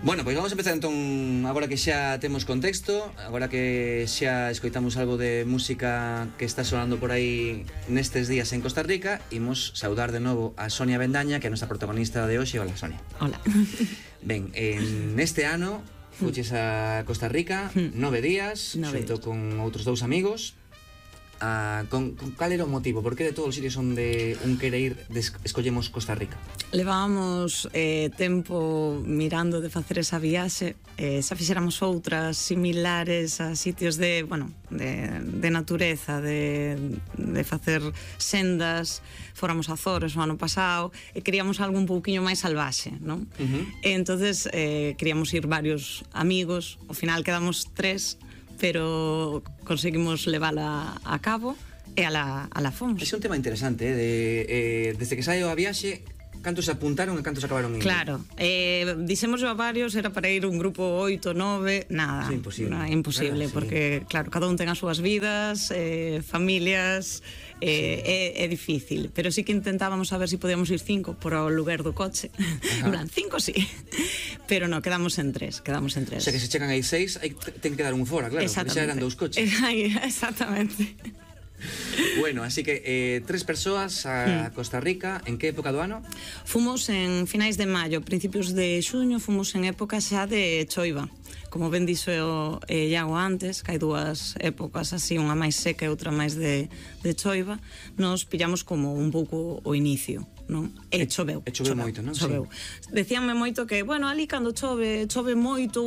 Bueno, pois vamos a empezar entón, agora que xa temos contexto, agora que xa escoitamos algo de música que está sonando por aí nestes días en Costa Rica, imos saudar de novo a Sonia Bendaña, que é a nosa protagonista de hoxe. Hola, Sonia. Hola. Ben, neste ano fuches a Costa Rica 9 días, xunto con outros dous amigos. Cal era o motivo? Por que de todos os sitios onde un quere ir escollemos Costa Rica? Levábamos tempo mirando de facer esa viaxe, xa fixéramos outras similares a sitios de natureza, de facer sendas. Fóramos a Azores o ano pasado e queríamos algo un pouquiño máis salvaxe, non? E entonces queríamos ir varios amigos, ao final quedamos 3, pero conseguimos levala a cabo e a la fomos. Ese é un tema interesante, desde que saio a viaxe, cantos se apuntaron e cantos acabaron indo? Claro, dixemos a varios, era para ir un grupo 8, 9, nada. Sí, imposible. Imposible, claro, porque, claro, cada un ten as súas vidas, familias, é difícil, pero sí que intentábamos saber se podíamos ir 5 por o lugar do coche. En plan, 5 sí, pero no, quedamos en 3. O sea que se chegan aí 6, ten que dar un fora, claro, porque xa eran 2 coches. Exactamente. Bueno, así que 3 persoas a Costa Rica. En que época do ano? Fomos en finais de maio, principios de xuño. Fomos en época xa de choiva. Como ben dixo Iago antes, que hai dúas épocas así, unha máis seca e outra máis de choiva. Nos pillamos como un pouco o inicio, non? E choveu. E choveu moito, non? Choveu. Sí. Decíanme moito que, bueno, ali cando chove moito,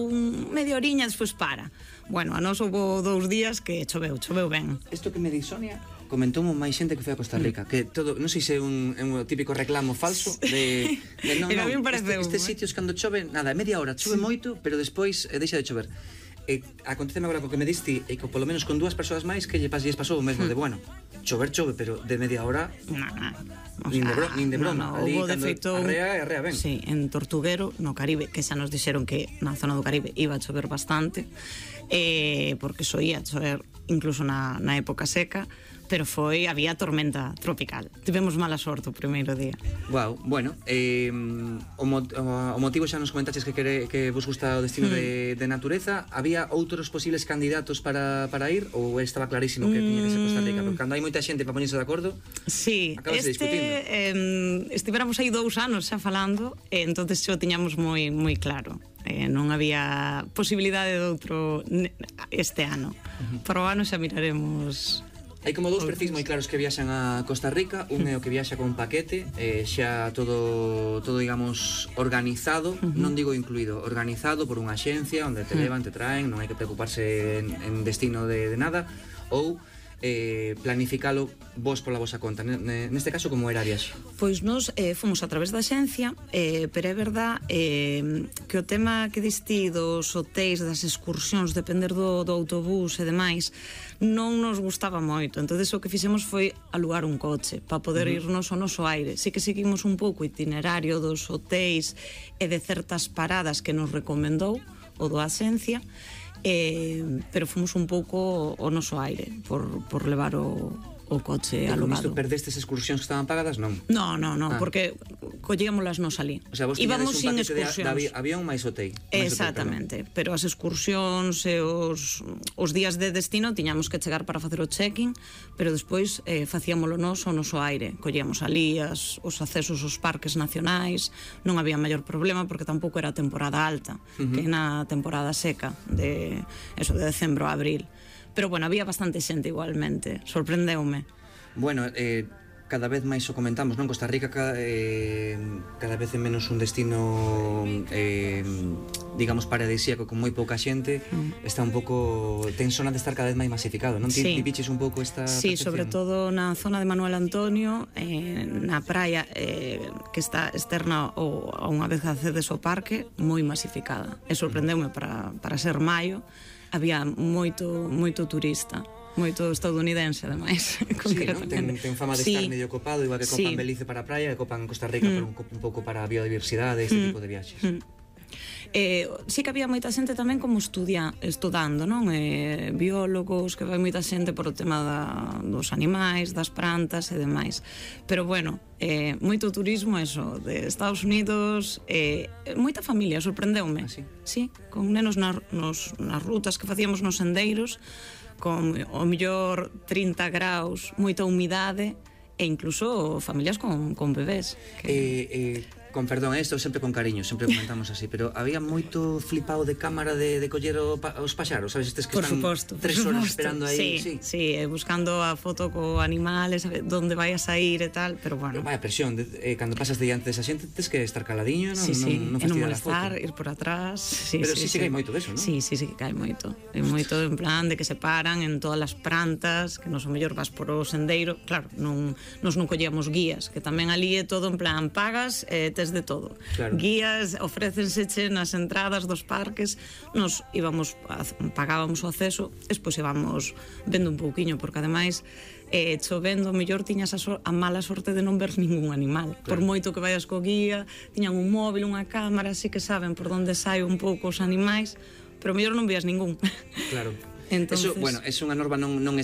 media horiña, despois para. Bueno, a nos houve 2 días que choveu ben. Isto que me di Sonia, comentoumo máis xente que foi a Costa Rica, que todo, non sei se é un típico reclamo falso de non, estes sitios cando chove, nada, media hora chove moito, pero despois deixa de chover. Aconteceme agora co que me diste, e que polo menos con 2 persoas máis que lles pasou o mesmo, de bueno, chove, pero de media hora nin de broma. Ali cando arrea ben. Sí, en Tortuguero, no Caribe, que xa nos dixeron que na zona do Caribe iba a chover bastante, porque soía chover incluso na época seca, pero había tormenta tropical. Tivemos mala sorte o primeiro día. Wow, bueno, o motivo xa nos comentaches que vos gusta o destino de natureza. Había outros posibles candidatos para ir, ou estaba clarísimo que tiña que ser Costa Rica? Porque cando hai moita xente para poñerse de acordo, sí, acabas discutindo. Estivéramos aí 2 anos xa falando, entonces xo tiñamos moi claro. Non había posibilidade de outro este ano. Para o ano xa miraremos. Hai como 2 perfis moi claros que viaxan a Costa Rica. Un é o que viaxa con paquete, xa todo digamos organizado, non digo incluído, organizado por unha axencia onde te levan, te traen, non hai que preocuparse en destino de nada. Ou planificalo vos pola vosa conta. Neste caso, como era a viaxe? Pois nos fomos a través da xencia, pero é verdad que o tema que diste dos hotéis, das excursións, depender do autobús e demais, non nos gustaba moito. Entonces o que fixemos foi alugar un coche para poder irnos ao noso aire. Sí que seguimos un pouco o itinerario dos hotéis e de certas paradas que nos recomendou o do axencia, pero fomos un pouco ao noso aire por levar o coche alugado. Isto perdestes excursións que estaban pagadas, non? No, porque collíamolas nos alí. O sea, vos tiñades un paquete de avión máis hotel. Exactamente, pero as excursións e os días de destino tiñamos que chegar para facer o check-in, pero despois facíamolo nos ao noso aire. Collíamos alí os accesos aos parques nacionais, non había maior problema porque tampouco era temporada alta, que na temporada seca de decembro a abril. Pero bueno, había bastante xente igualmente, sorprendeume. Bueno, cada vez máis o comentamos, non? Costa Rica cada vez é menos un destino digamos paradisíaco con moi pouca xente. Está un pouco, ten zona de estar cada vez máis masificado, non? Sí. Ti viches un pouco esta sí, percepción? Sobre todo na zona de Manuel Antonio, na praia que está externa ou a unha vez accedes ao parque, moi masificada. E sorprendeume para ser maio, había moito turista, moito estadounidense, ademais. Sí, non? Ten fama de estar medio copado, igual que copan Belize para a praia e copan Costa Rica por un pouco para a biodiversidade e este tipo de viaxes. Sí que había moita xente tamén como estudando, non? Biólogos, que vai moita xente por o tema dos animais, das plantas e demais. Pero bueno, moito turismo, eso, de Estados Unidos, moita familia, sorprendeume. Sí, con nenos nas rutas que facíamos nos sendeiros, con o mellor 30 graus, moita humidade, e incluso familias con bebés. Con perdón, isto sempre con cariño, sempre comentamos así, pero había moito flipado de cámara de coller os paxaros, sabes, estes que están 3 horas esperando aí. Sí, buscando a foto co animal, onde vai a sair e tal, pero bueno. Vaya presión, cando pasas diante desa xente tens que estar caladiño, non fastidiar a foto. Ir por atrás. Pero sí que hai moito deso, non? Sí, que hai moito. Hai moito en plan de que se paran en todas as plantas, que nos o mellor vas por o sendeiro, claro, nos non collíamos guías, que tamén ali é todo en plan, pagas, tes de todo. Guías, ofrécenseche nas entradas dos parques, nos íbamos, pagábamos o acceso, despois íbamos vendo un pouquiño, porque ademais chovendo, mellor tiñas a mala sorte de non ver ningún animal. Por moito que vayas co guía, tiñan un móvil, unha cámara, así que saben por onde sai un pouco os animais, pero mellor non vías ningún. Claro. Eso, bueno, é unha norma non